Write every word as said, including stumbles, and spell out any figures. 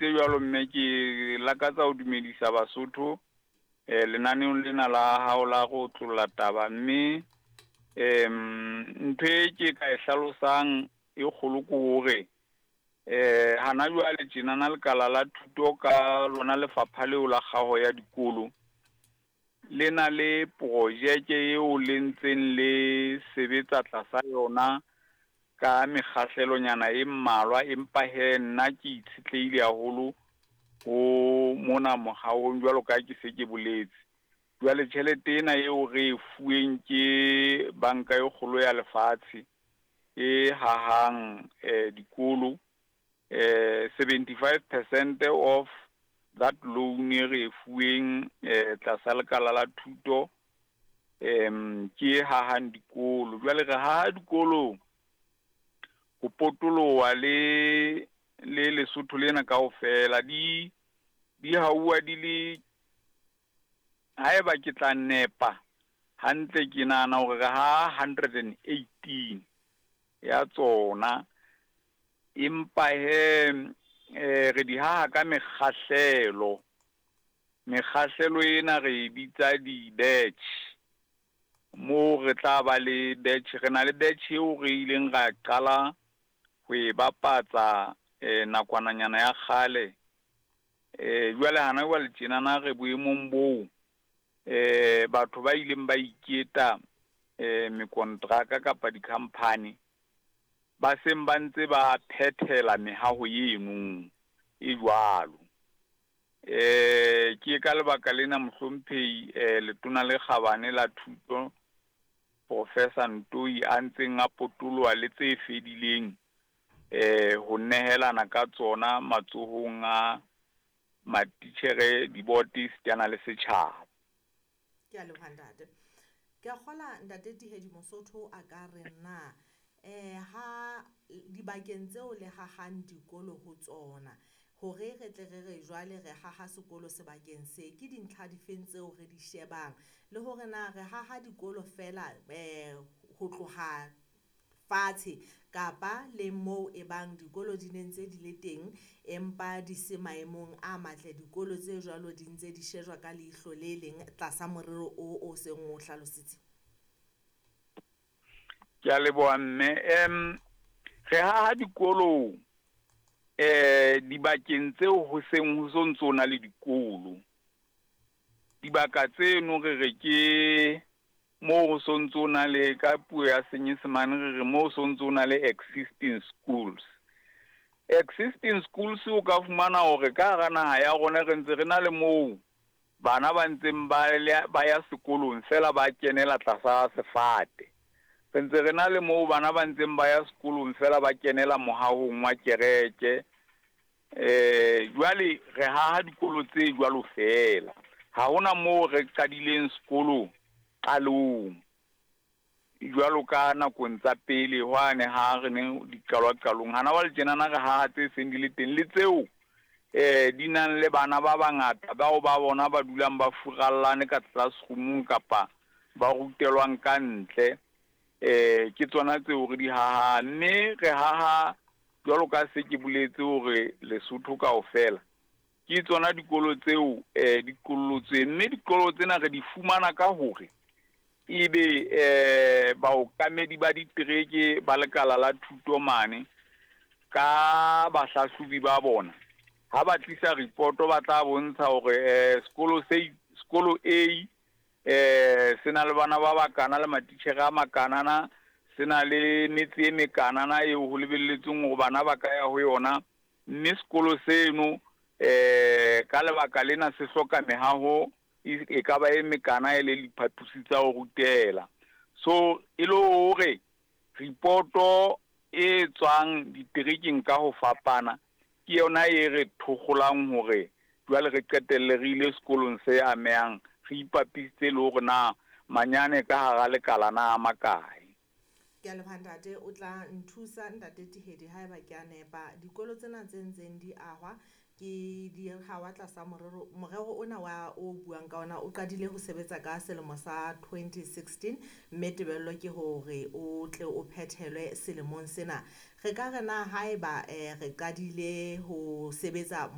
dumedisitse jwalo mme ke lakatsa ho dumedisa Basotho eh lenaneong lena la hao la go tlolla taba mme em ntho e ke ka e hlalosang e kgolo ke hore eh hana jwale tjenana lekala la thuto ka lona lefapha leo la kgaho ya dikolo le na le projeke eo le ntseng le sebetsa tlasa yona ka mekgahlelonyana e mmalwa, empa he nna ke itshetlehile haholo ho mona mohahong jwalo ka ke se ke boletse. Jwale tjhelete ena eo re e fuweng ke banka e kgolo ya lefatshe e hahang eh dikolo eh seventy-five percent of that loan e re e fuweng eh tlasa lekala la thuto em ke e hahang dikolo. Jwale re haha dikolo ho potoloha le le Lesotho lena kaofela di di hauwa di le haeba ke tla nepa hantle ke nahana hore re ha hundred and eighteen ya tsona, empa he eh re di haha ka mekgahlelo. Mekgahlelo ena re e bitsa di-batch, moo re tla ba le batch, re na le batch eo re ileng ra qala ho e bapatsa eh nakwananyana ya kgale. Eh jwale hana jwale tjenana re boemong boo eh batho ba ileng ba iketa eh mekontraka kapa di-company ba seng ba ntse ba phethela mehaho eno e jwalo. Eh ke ka lebaka lena mohlomphehi eh letona le kgabane la thuto Professor Ntoi a ntseng a potoloha le tse fedileng eh ho nehelana ka tsona matsohong a matitjhere, diboto esitana le setjhaba. Ke a leboha ntate. Ke a kgola ntate Tihedi Mosotho a ka re na eh ha dibakeng tseo le hahang dikolo ho tsona hore re tle re re jwale re haha sekolo sebakeng se, ke dintlha difeng tseo re di shebang le hore na re haha dikolo fela eh ho tloha fatshe kapa le moo e bang dikolo di ne ntse di le teng empa di se maemong a matle, dikolo tse jwalo di ntse di shejwa ka leihlo le leng tlasa morero o o seng o hlalositse? Ke a leboha mme. Em re haha dikolo eh dibakeng tseo ho seng ho so ntso na le dikolo. Dibaka tseno re re ke moo ho so ntso na le, ka puo ya Senyesemane re re moo so ntso na le existing schools. Existing schools o ka fumana hore ka hara naha ya rona re ntse re na le moo bana ba ntseng ba le, ba ya sekolong fela ba kenela tlasa sefate. Re ntse re na le moo bana ba ntseng ba ya sekolong fela ba kenela mohahong wa kereke. Eh jwale re haha dikolo tse jwalo fela. Ha hona moo re qadileng sekolo qalong jwalo ka nakong tsa pele hwane ha re ne di qalwa qalong. Hana jwale tjenana re haha tse seng di le teng le tseo eh di nang le bana ba bangata bao ba bona ba dulang ba furallane ka classroom kapa ba rutelwang ka ntle. Eh ke tsona tseo re di haha, mme re haha jwalo ka se ke boletse hore Lesotho kaofela ke tsona dikolo tseo eh di kollotsweng, mme dikolo tsena re di fumana ka hore ebe eh baokamedi ba ditereke ba lekala la thuto mane ka bahlahlobi ba bona ha ba tlisa report ba tla bontsha hore eh sekolo se sekolo A eh se na le bana ba bakana le matitjhere a makanana, se na le metse e mekanana eo ho lebelletsweng hore bana ba ka ya ho yona, mme sekolo seno eh ka lebaka lena se hloka mehaho e ka ba e mekana e le diphaposi tsa ho rutela. So e le hore reporto e tswang diterekeng ka ho fapana ke yona e re thokgolang hore jwale re qetelle re ile sekolong se amehang, re ipapisitse le hore na manyane ka hara lekala na a makae. Ke a leboha ntate, o tla nthusa ntate Tihedi haeba ke a nepa. Dikolo tsena tse ntseng di ahwa ke di hawa tlasa morero, morero ona wa o buang ka ona o qadile ho sebetsa ka selemo sa twenty sixteen, mme tebello ke hore o tle o phethelwe selemong sena. Re ka re na haeba eh re qadile ho sebetsa